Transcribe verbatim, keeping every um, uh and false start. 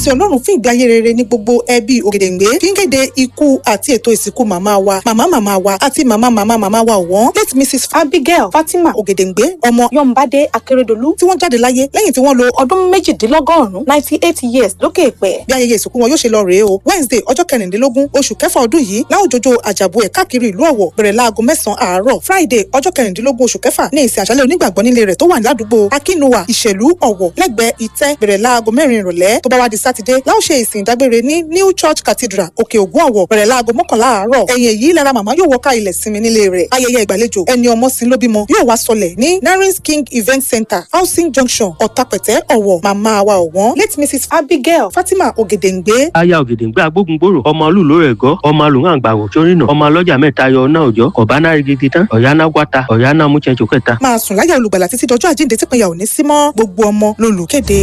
Sí Ọlọ́run fún ìgbé ayé rere ní gbogbo ẹbí Ògèdèǹgbé fi ń kéde ikú àti ètò ìsìnkú màmá wa, màmá màmá wa àti màmá màmá màmá wa ọ̀wọ́n, late Missus Abigail Fatima Ògèdèǹgbé, ọmọ Yọ̀ǹbádé Akérèdọ́lù, tí wọ́n jáde láyé lẹ́yìn tí wọ́n lo ọdún méjìdínlọ́gọ́rùn-ún, ninety eight years, lókè èpẹ̀. Bí ayẹyẹ ìsìnkú wọn yóò ṣe lọ rèé o: Wednesday, ọjọ́ kẹrìndínlógún oṣù kẹfà ọdún yìí, láwùjọjọ àjàbù ẹ̀ káàkiri ìlú Ọ̀wọ̀, bẹ̀rẹ̀ láago mẹ́sàn-án àárọ̀. Friday, ọjọ́ kẹrìndínlógún oṣù kẹfà ní ìsìn àṣálẹ́ onígbàgbọ́ nílé rẹ̀ tó wà ládùúgbò Akínúwà, Ìṣèlú, Ọ̀wọ̀, lẹ́gbẹ̀ẹ́ ìtẹ́, bẹ̀rẹ̀ láago mẹ́rin ìrọ̀lẹ́. Tó bá wá di Sátidé, láò ṣe ìsìn ìdágbére ní New Church Cathedral, Òkè Ògùn, Ọ̀wọ̀, bẹ̀rẹ̀ láago mọ́kànlá àárọ̀. Ẹ̀yìn èyí lára màmá yóò wọká ilẹ̀ sinmi nílé rẹ̀. Ayẹyẹ ìgbàlejò ẹni ọmọ sin ló bímọ yóò wá sọlẹ̀ ní Narins King Event Center, Housing Junction, Ọ̀tàpẹ̀tẹ̀, Ọ̀wọ̀. Màmá wa ọ̀wọ́n, late Missus Abigail Fatima Ògèdèǹgbé. Aya Ògèdèǹgbé agbógungbòrò, ọmọ olúlo rẹ̀ gọ́, ọmọ alùhàǹgbàwò sórìnà, ọmọ alọ́jà mẹ́ta yọ ọ̀nà òjọ́ ọ̀bánà rigidi tán ọ̀yáná wáta ọ̀yáná múchẹ́jọ kẹta. Máa sùn láyà olùgbàlà títí dọjọ́ àjíǹde típínyà ò ní sí mọ́. Gbogbo ọmọ lolùkéde.